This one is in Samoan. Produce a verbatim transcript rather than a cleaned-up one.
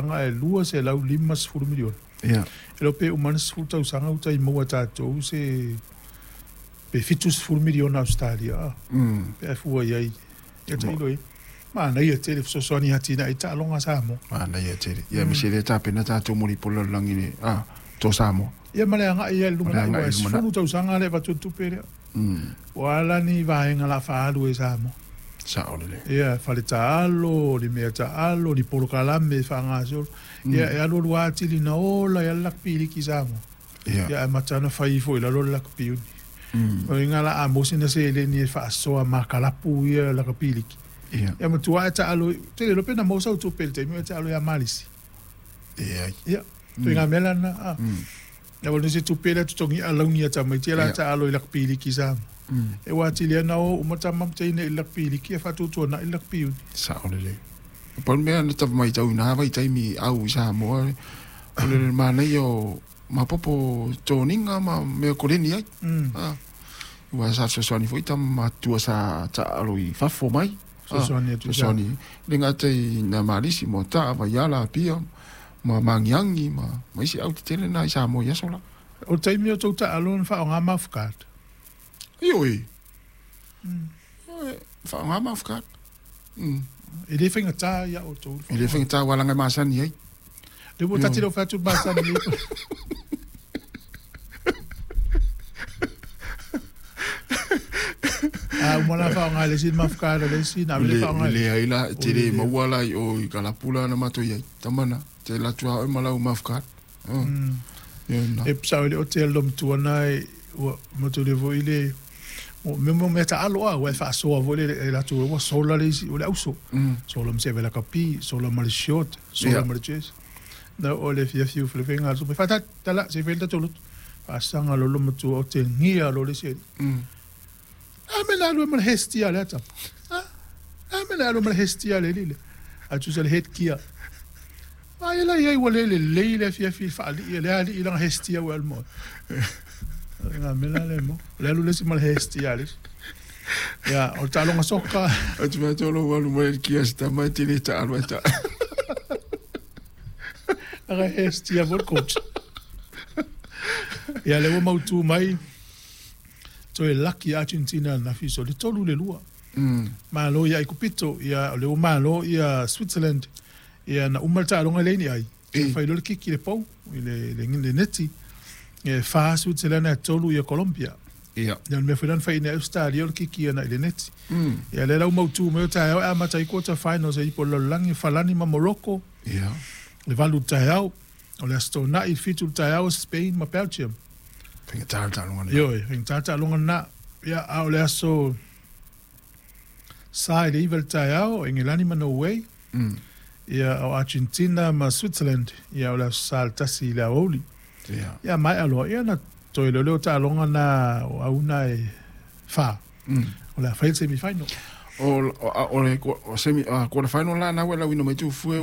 tausaga e lua selau lima sefulu miliona. Ia. E le o pe uma ane sefulu tausaga ua tai maua e tatou se pe fitu sefulu miliona Ausetalia a. Mm. Pe a fua i ai. Ia tailo i. Manaia tele fesoasoani atinae i taaloga a Samoa. Manaia tele. Ia aemaise lea tapena tatou mo le ipu o le lalolagi le a to Samoa. Ia ma le agai ai i le Ma le lumanai agai ua i le lumanai. sefulu tausaga le avatu le tupe lea. Mm. Ua ala ni vaega la faaalu e Samoa. Sao lelei. Ia, fale taalo, ni mea taalo, ni polokalame faagasolo. Ia, e alualu atili na ola i a le lakapi liki i Samoa. Ia. Ia, ae amata ona fai ifo i lalo le lakapi uni. Mm. O iga la a maua sina seleni e faasoa makalapu ia lakapi liki. Ia. Ia matua e taalo, te le iloa pe na maua sau tupe i le taimi o e taalo ia Malisi. Ia. Ia, ituaiga mea la lena. A. Mm. Ia ua nisi tupe lea totogi alauni a tamaiti la Ia. taalo i lakapi liki i Samoa. Mm. E ua atili ai ona o uma tama ma teine i le lakapi liki e faatuatuanai le lakapi uni. Sao lelei. Pau le mea na tau matauina lava i taimi au i Samoa, o le manaia o mapopo toniga ma mea koleni ai. Mm. Ah. Ua sa fesoasoani foi tama matua sa taalo i fafo mai. Ah, Fesoasoani atu i Samoa. fesoasoani. E le gata i nā Malisi mo ta'a Vaiala Apia ma Magiagi ma ma isi au tetele na i Samoa i aso la. O le taimi o tou taalo na faaaoga mouth guard. Ioe. Mm. Ioe, faaaoga mouth guard. Mm. E le faigata ia outou le E le faaaoga. faigata ua laga e masani ai. Le ua tati leo fai atu le masani ai. A uma la faaaoga e le isi le mouth guard a le isi na ave le Le faaaoga e le ai la O te le le lea. maua la i o i kalapula na matou i ai. Tamana, te alu atu lava oe ma lau mouth guard. Ah. Mm. Ia na. E sao i le o te lo matua na e ua matou le foi le o me mo mea taalo a ua e faasoa foi le e latou ua sola le isi o le auso. Mm. Sola ma se avela kapi, sola ma le short, sola Ia. ma le chest. Na o le fiafiu felefega atu mai faatali tala se i fai le tatou lotu. Faasaga lo lo matua o te gia lo le isi alii. Mm. A me na alu e ma le hestia le ata. A a me na alu ma le hestia le lile. A tusa le headgear. Ai la iai ua le lelei le afiafi i le faalii e le alii lana hestia ua alu ma oe. Nga mea la le mo. O le alu le isi ma le hestia le isi. Ia, o le taaloga soka. Ou te fai atu o lou alu mai le kia se tama e te le taalo ai ta'a. Aga hestia foi le coach. Ia, le ua mautū mai, toe laki Argentina ananafi so le tolu le lua. Mm. Malo ia Aikupito, ia o le ua malo ia Switzerland. Ia na uma le taaloga e leai ni ai. E. Fai loa le kiki le pou i le, le, le neti. E fa Switzerland e tolu ia Colombia. Ia. Ia o le mea foi lea na faiina ai Australia o le kiki ana i le neti. Mm. Ia lea la ua mautū mai o taeao e amata ai quarter finals e ipu o le lalolagi Falani ma Morocco. Ia. Le valu taeao. O le aso tona'i le fitu le taeao Spain ma Belgium. Faigata le taaloga lena. Ioe, faigata le taaloga lena. Ia, a o le aso sa i le iva le taeao, Engelani ma Norway. Mm. Ia, o Argentina ma Switzerland. Ia, o le aso sa le tasi i le aoauli. Ia. Ia, maea loa. Ia, na toe leoleo taaloga na o auna e fa. Mm. O le a fai le semi-final. O o o le o semi a quarter final la na ua lauina mai tu fue.